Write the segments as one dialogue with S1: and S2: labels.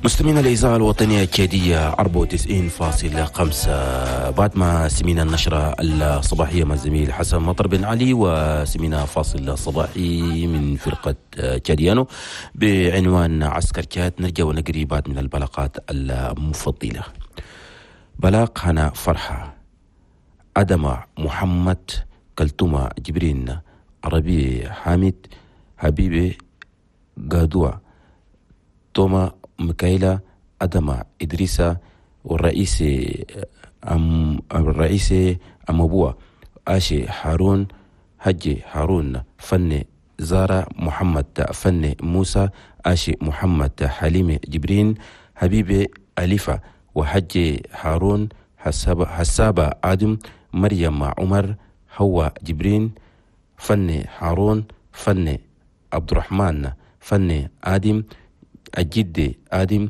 S1: مستمعينا الإذاعة الوطنية التشادية 94.5، بعد ما سمينا النشرة الصباحية مع الزميل حسن مطر بن علي، وسمينا فاصل صباحي من فرقة تشاديانو بعنوان عسكر تشاد، نرجع ونقري بعد من البلاغات المفضلة. بلاغ هنا فرحة أدم محمد كلتومة جبرين عربي حامد حبيبي قادوة توما ميكايلا أدم إدريسا والرئيس الرئيس أمبوا آشي هارون هجي هارون فن زارة محمد فن موسى آشي محمد حليم جبرين حبيبي أليفة وحجي هارون حسابة آدم مريم عمر هو جبرين فن هارون فن عبد الرحمن فن آدم الجد آدم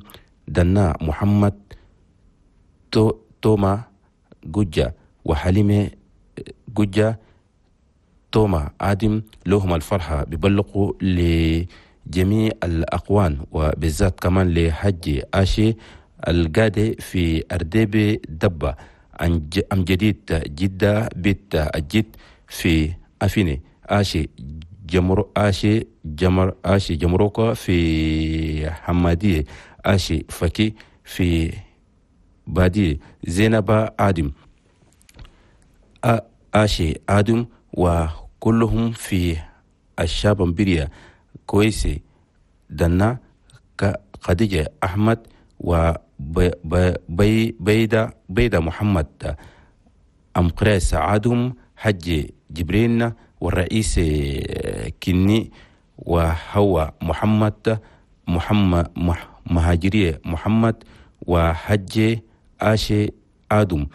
S1: دنا محمد توما جوجا وحليمة جوجا توما آدم. لهم الفرحة ببلغوا لجميع الأقوان وبالذات كمان لحج آشي القادة في أرديبي دبة أم جديد جدة بيت الجد في أفيني آشي جمر آشي جمر آشي جمروكا في حمادية آشي فكي في بادية زينب آدم آشي آدم وكلهم في الشابمبريا كويسي دنا خديجة أحمد وبيدة بيدة محمد أم قريس آدم حج جبرين والرئيس كني وهو محمد محمد مهاجرية محمد وحج آشي آدم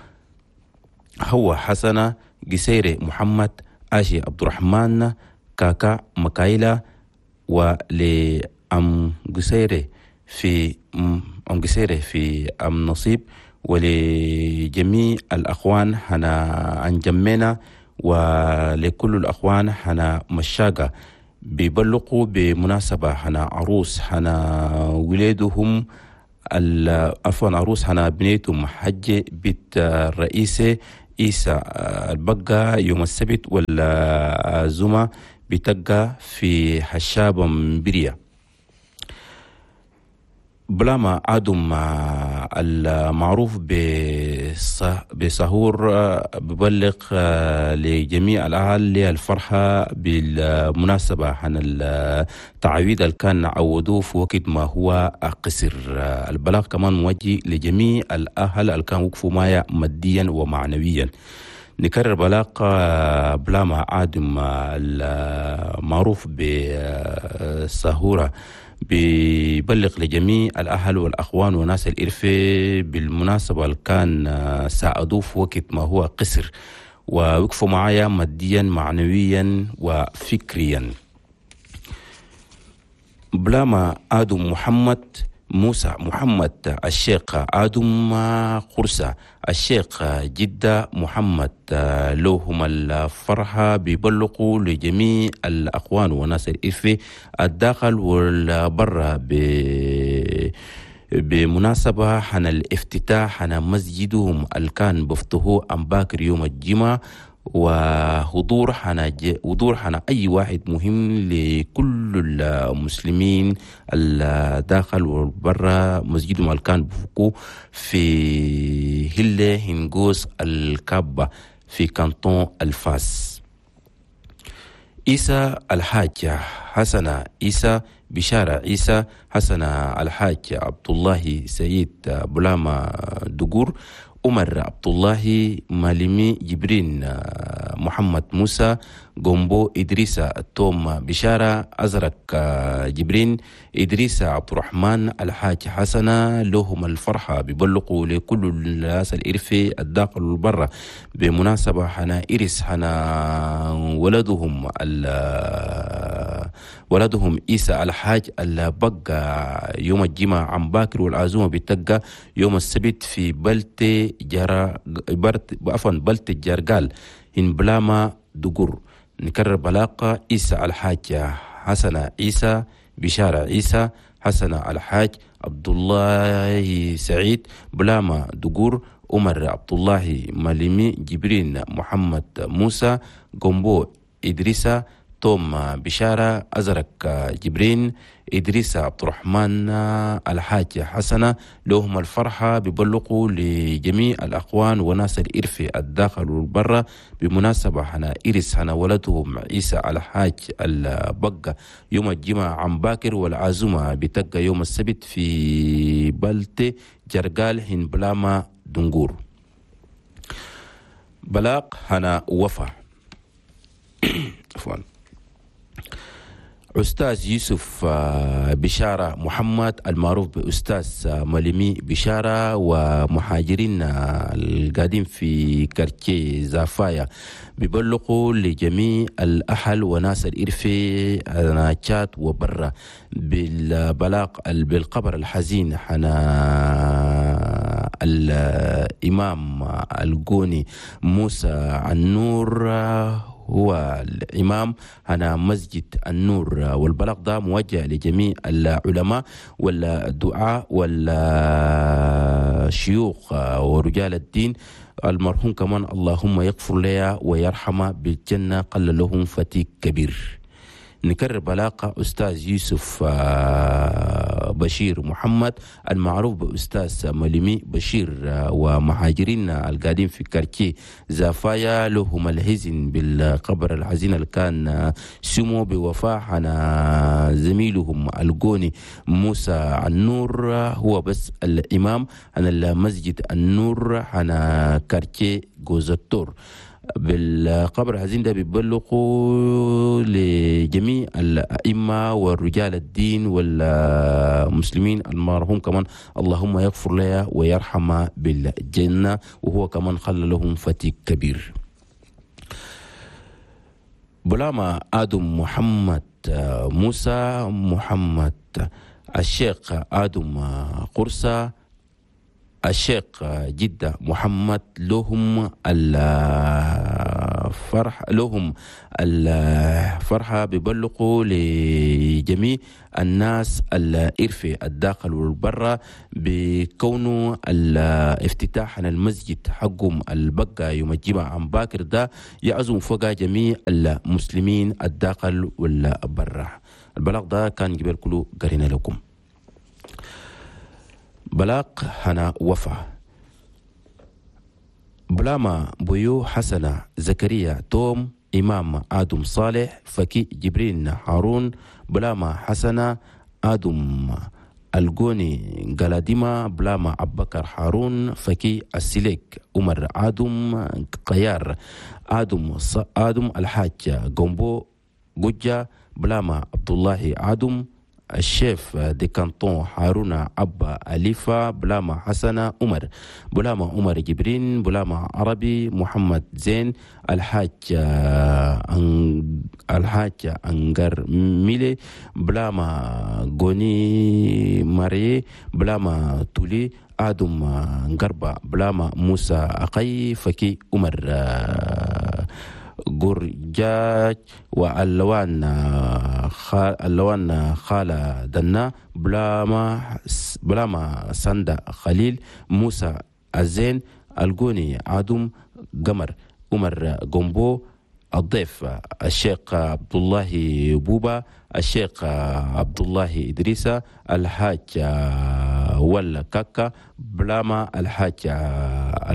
S1: هو حسنة قسيري محمد آشي عبد الرحمن كاكا مكايلا ولأم قسيري في أم قسيري في أم نصيب ولجميع الأخوان هنا أنجمنا ولكل الأخوان هنا مشاقة بيبلغوا بمناسبة هنا عروس هنا ولادهم عفوا عروس هنا بنيتهم حج بيت الرئيسة إيسا البقة يوم السبت والزمة بتقى في حشاب مبريا. بلاما آدم المعروف بسهور ببلغ لجميع الأهل للفرحة بالمناسبة عن التعويض اللي كان عودوه في وقت ما هو قصر. البلاغ كمان موجه لجميع الأهل اللي كانوا وقفوا معايا ماديا ومعنويا. نكرر بلاغ بلاما آدم المعروف بسهورة بيبلغ لجميع الأهل والأخوان وناس الإرفة بالمناسبة اللي كان ساعدوه في وقت ما هو قصر ووقفوا معايا ماديا معنويا وفكريا. بلاما آدم محمد موسى محمد الشيخ آدم قرصة الشيخ جدة محمد لهم الفرحة بيبلغوا لجميع الأخوان وناس الإفة الداخل والبرة بمناسبة حن الافتتاح حن مسجدهم اللي كان بفتحوه أم باكر يوم الجمعة وحضور حنا حضور حنا أي واحد مهم لكل المسلمين الداخل والبرا مسجدهم اللي كان بفكو في هلة هنغوس الكابة في كانتون الفاس. عيسى الحاج حسن عيسى بشارة عيسى حسن الحاج عبد الله سيد بلاما دقور عمر عبد الله مالمي جبرين محمد موسى جومبو إدريس توم بشارة أزرق جبرين إدريس عبد الرحمن الحاج حسنة لهم الفرحة بيبلغوا لكل الناس الإرفي الداخل والبرة بمناسبة حنا إرس حنا ولدهم عيسى الحاج اللي بقى يوم الجمعة عم باكر والعزومة بتقى يوم السبت في بلتي جرا برت عفوا بلتي جرقال إن بلاما دقر. نكرر بلاقة عيسى الحاج حسن عيسى بشارة عيسى حسن الحاج عبد الله سعيد بلاما دقور عمر عبد الله مالمي جبرين محمد موسى جومبو إدريسا توم بشارة أزرق جبرين إدريس عبد الرحمن الحاج حسنة. لهم الفرحة ببلغوا لجميع الأخوان وناس الإرفي الداخل والبرة بمناسبة هنا إرس هنا ولدهم عيسى الحاج البقة يوم الجمعة عن باكر، والعزومة بتبقى يوم السبت في بلتي جرقال هن بلاما دنقور. بلاق هنا وفا عفوا أستاذ يوسف بشارة محمد المعروف بأستاذ مالمي بشارة ومهاجرين القادم في quartier زافايا بيبلغوا لجميع الأهل وناس الإرفي تشاد وبرا بالبلاغ بالخبر الحزين حنا الإمام الجوني موسى النور هو الإمام هنا مسجد النور، والبلاغ ده موجه لجميع العلماء والدعاء والشيوخ ورجال الدين. المرحوم كمان اللهم يغفر لها ويرحمه بالجنة، قل لهم فتيك كبير. نكرر بلاقة أستاذ يوسف بشير محمد المعروف بأستاذ مالمي بشير ومهاجرين القادم في quartier زافايا لهم الحزن بالقبر الحزين اللي كان سمو بوفاة عن زميلهم الجوني موسى النور، هو بس الإمام عن المسجد النور عن quartier جوزتور. بالقبر الحزين ده بيبلغوا لجميع الأئمة والرجال الدين والمسلمين المرحوم كمان اللهم يغفر لها ويرحمه بالجنة، وهو كمان خلى لهم فتيك كبير. بلاما آدم محمد موسى محمد الشيخ آدم قرصة الشيخ جدة محمد لهم الفرح، لهم الفرحة ببلغوا لجميع الناس الإرفي الداخل والبرة بكونه الافتتاح عن المسجد حقهم البقى يوم الجمعة عن باكر ده يعزم فوق جميع المسلمين الداخل والبرة. البلاغ ده كان جبال كله قرينا لكم. بلاق هنا وفا بلاما بيو حسنة زكريا توم إمام آدم صالح فكي جبرين هارون بلاما حسنة آدم الجوني قلاديما بلاما أبكر هارون فكي السليك عمر آدم قيار آدم الحاج جومبو جوجا بلاما عبد الله آدم ال chef de canton هارونا أبا أليفا بلاما حسنة عمر بلاما عمر جبرين بلاما عربي محمد زين الحاج الحاج أنجر ميلي بلاما غوني ماري بلاما تولي آدم غربة بلاما موسى أقي فكي عمر جورجاج واللوان اللوان خالة دنا بلاما سندا خليل موسى الزين الجوني آدم قمر عمر جومبو الضيف الشيخ عبد الله بوبا الشيخ عبد الله إدريسة الحاج ولا كاكا بلاما الحاج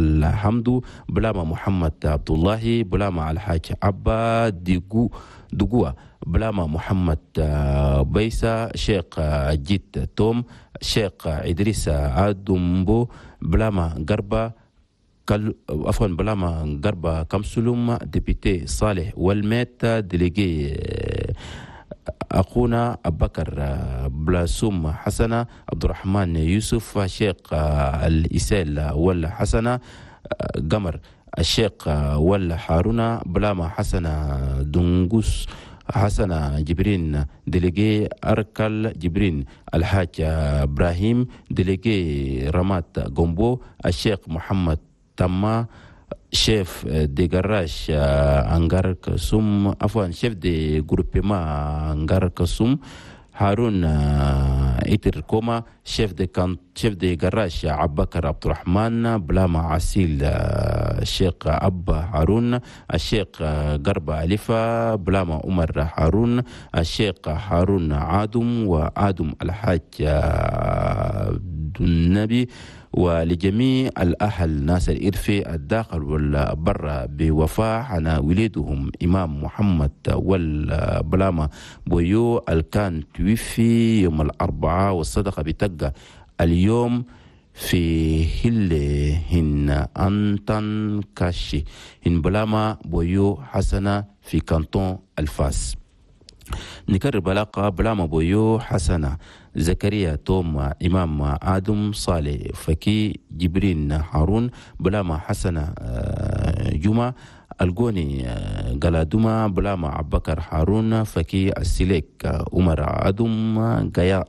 S1: الحمدو بلاما محمد عبد الله بلاما الحاج عبا دقوة بلاما محمد بيسا شيخ جيت توم شيخ إدريس آدمبو بلاما غربا عفوا بلاما غربا كمسلوم député صالح والميت délégué أخونا أبكر بلاسوم حسنة عبد الرحمن يوسف شيخ الإسال ولا حسنة قمر الشيخ ولا هارونا بلاما حسنة دنقوس حسنة جبرين délégué أركل جبرين الحاج إبراهيم délégué رمات جومبو الشيخ محمد تما chef de garage Angar Kasum, enfin chef de groupement Angar Kasum, هارون إتر كوما، chef de can chef de garage عبكر عبد الرحمن، بلاما عسيل الشيخ أبا هارون، الشيخ قربة ألفا، بلاما عمر هارون، الشيخ هارون عادم، وآدم الحاج النبي، ولجميع الأهل ناس الإرفي الداخل والبر بوفاة على وليدهم إمام محمد والبلاما بويو الكان توفي يوم الأربعاء، والصدقة بتقى اليوم في هل هن أنتن كاشي هن بلاما بويو حسنة في كانتون الفاس. نكرر بلاقة بلاما بويو حسنة زكريا توم إمام آدم صالح فكي جبرين هارون، بلاما حسنة جمعة الجوني قلادوما، بلاما عبكر هارون فكي السليك عمر آدم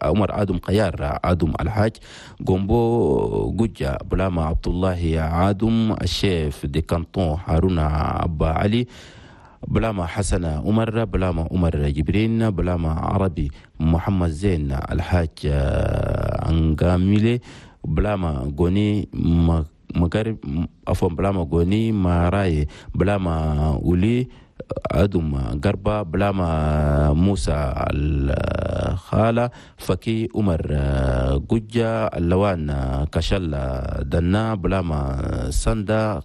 S1: عمر آدم قيار آدم الحاج جومبو جوجا، بلاما عبد الله آدم ال chef de canton هارون أبا علي، بلاما حسن عمر، بلاما عمر جبرين، بلاما عربي محمد زين الحاج أنغاميلي، بلاما غوني مغرب عفوا بلاما غوني ماراي، بلاما أولي أدم غربة، بلاما موسى الخالة فكي عمر جوجا اللوان كشل دنا، بلاما سندا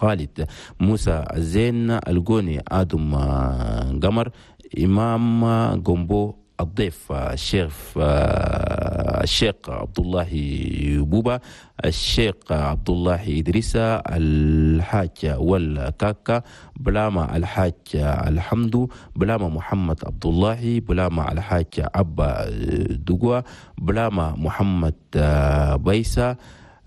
S1: خالد موسى الزين الجوني آدم قمر، إمام جومبو، الضيف الشيخ عبد الله بوبا، الشيخ عبد الله إدريس الحاج والكاكا، بلاما الحاج الحمدو، بلاما محمد عبد الله، بلاما الحاج أبا دقوة، بلاما محمد بيسا،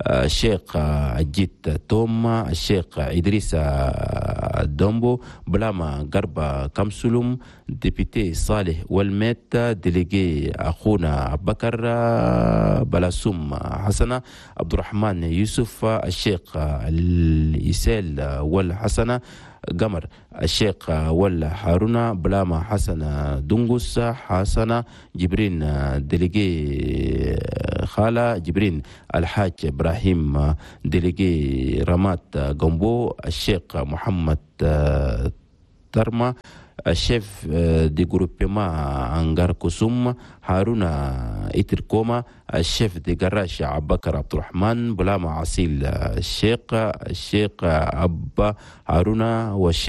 S1: الشيخ الجيت توم، الشيخ إدريس الدومبو، بلاما قربة كمسلم، député صالح والميت، délégué أخونا بكر بلاسوم حسنة، عبد الرحمن يوسف، الشيخ الإسال والحسنة قمر، الشيخ ولا هارون، بلاما حسن دنقس، حسن جبرين délégué خالة جبرين، الحاج إبراهيم délégué رمات جنبو، الشيخ محمد ترمى ال chef de groupement أنغار كسوم، هارون إتركوما، ال chef de garage عبكر عبد الرحمن، بلاما عسيل الشيخ أبا هارون، والشيخ